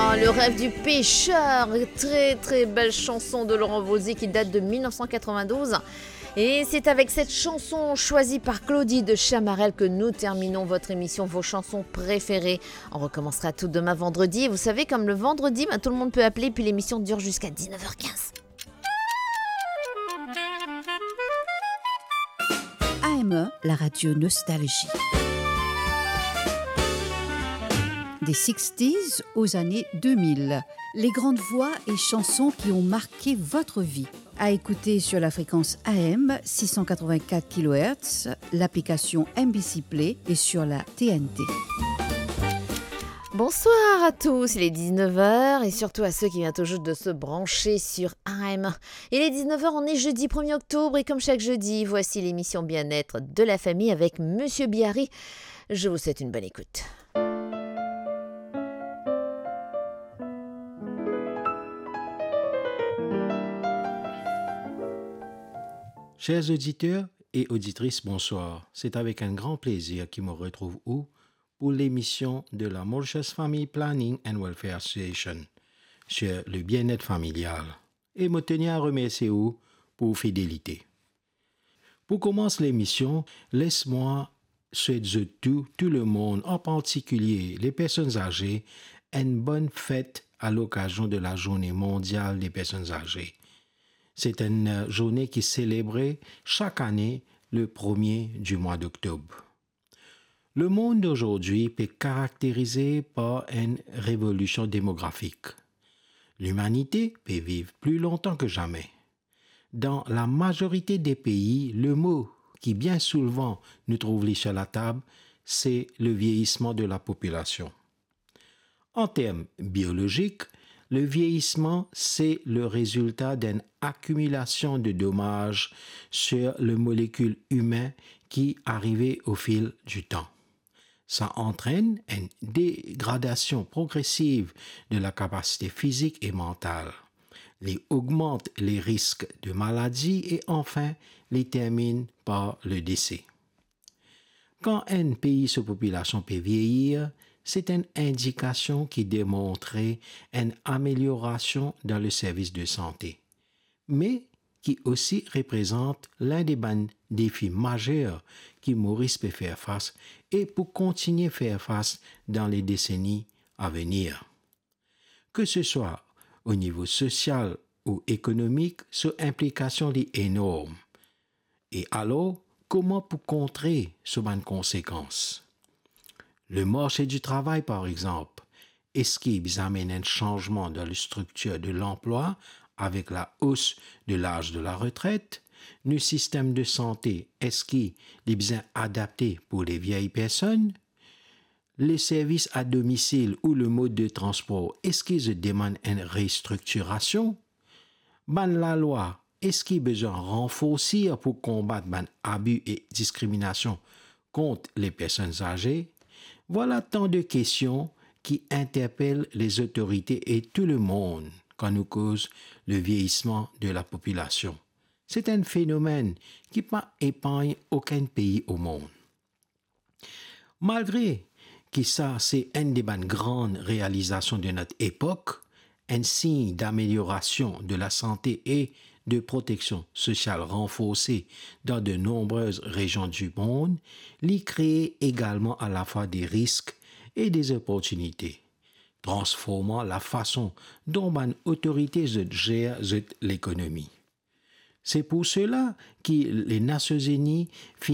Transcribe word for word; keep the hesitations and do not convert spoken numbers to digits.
Ah, Le rêve du pêcheur, très très belle chanson de Laurent Voulzy qui date de mille neuf cent quatre-vingt-douze. Et c'est avec cette chanson choisie par Claudie de Chamarel que nous terminons votre émission Vos chansons préférées. On recommencera tout demain vendredi. Vous savez, comme le vendredi, ben, tout le monde peut appeler, puis l'émission dure jusqu'à dix-neuf heures quinze. A M E, la radio nostalgie. Des sixties aux années deux mille, les grandes voix et chansons qui ont marqué votre vie. À écouter sur la fréquence A M six cent quatre-vingt-quatre kilohertz, l'application M B C Play et sur la T N T. Bonsoir à tous, il est dix-neuf heures et surtout à ceux qui viennent tout juste de se brancher sur A M. Il est dix-neuf heures, on est jeudi premier octobre et comme chaque jeudi, voici l'émission Bien-être de la famille avec Monsieur Biari. Je vous souhaite une bonne écoute. Chers auditeurs et auditrices, bonsoir. C'est avec un grand plaisir ki mo retrouv ou pou lemision de la Mauritius Family Planning and Welfare Association sur le bien-être familial. E mo teni a remersie ou pou fidelite. Pou koumans lemision, les mwa swet zot tou, tou lemonn, an partikilie le personn aze, enn bonn fet a lokazion de la Journée mondiale des personnes âgées. Se enn, euh, zourne ki selebre sak ane le premie di mwa doktob. Lemond dozordi pe karakterize par enn revolision demografik. Limanite pe viv pli lontan ki zame. Dan lamazorite de pei, lemo ki bien souvan nou trouv li sir latab, se le vieyisman de lapopilasion. An term biolozik, le vieyisman se le rezilta d'enn akimilasion de domaz sir le molekil imin ki arive o fil di tan. Sa antrenn enn degradasion progresiv de lakapasite fizik e mantal. Li ogmant le risk de maladi e anfin, li terminn par le dese. Kan enn pei so popilasion pe vieyir, se enn indikasion ki demontre enn ameliorasion dan le servis de sante, me ki osi reprezant linn de bann defi mazer ki Moris pe fer fas e pou kontigne fer fas dan le deseni a venir. Ke se swa o nivo sosial ou ekonomik, so inplikasion li enorm. E alor, kouma pou kontre so bann konsekans? Le marse di travay, par exanp, eski bizin amenn enn sanzman dan le striktir de lanplwa avek la os de laz de la retret? Nou sistem de sante, eski li bizin adapte pou le viey personn? Le servis a domisil ou le mod de transpor, eski zot demann enn restriktirasion? Bann lalwa, eski bizin ranforsi pou konbat bann abi e diskriminasion kont le personn aze? Vwala tan de kestion ki interpel lezotorite e tou lemonn kan nou koz le vieyisman de lapopilasion. Se enn fenomenn ki pa epargn okenn pei o mond. Malgre ki sa se enn de bann gran realizasion de not epok, enn sign dameliorasion de lasante e de proteksion sosial ranforse dan de nonbrez rezion di mond, li kree egalman alafwa de risk e de zoportinite, transforman lafason dont bann otorite zot zer zot lekonomi. Se pou sela ki Lenasion Zini finn